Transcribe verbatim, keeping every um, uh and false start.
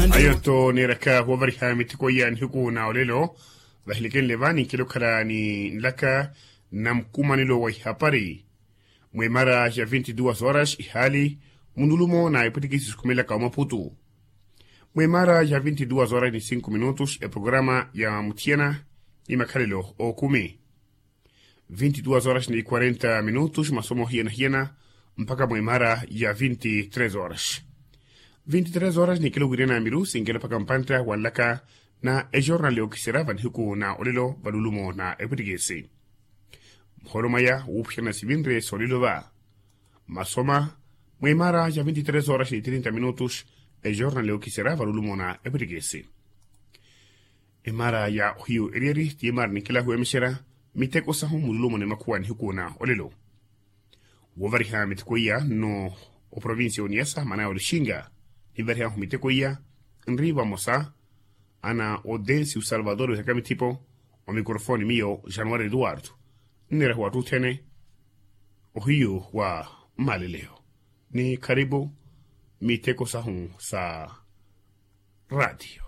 Ayo-tho neeraka woovariha miteko iya nihiku na olelo. Vahilikenle va ninkela okhala ni nlaka na mukumanelo wa ihapari mwemara ya vinti duas horas ihaali munulumo na epwitikisi sikhumelaka omaputu. Mwemara ya vinti duas horas ni cinco minutos eprograma ya muthiyana ni makhalelo ookumi. Vinti duas horas ni quarenta minutos masomo hiyana-hiyana mpakha mwemara ya vinti tres horas. Vinti tres horas nikelo wirina miru sinkelo mpakha mpantta wanlaka na ejornal yookisera vanihiku na olelo valulumo na epwitikisi. Muholo mwaya wuuphiyana sivinre soolelo va masoma mwemara ya vinti tres horas ni trinta minutos. Ejornal yookisera valulumo na epwitikisi. Emara ya ohiyu eriyeri ti emara ninkela huwemexera miteko sahu mululumo ni makhuwa nihiku na olelo. Woovariha miteko iya nno oprovincia oniyasa manaya olixinga. Nivarihahu miteko iya nri vamosa ana odensi osalvador wihaka mithipo. Omikrofoni miyo januari eduardo nneerahu atthu othene ohiyu wa mmaleleyo ni kharipu miteko sahu sa ratio.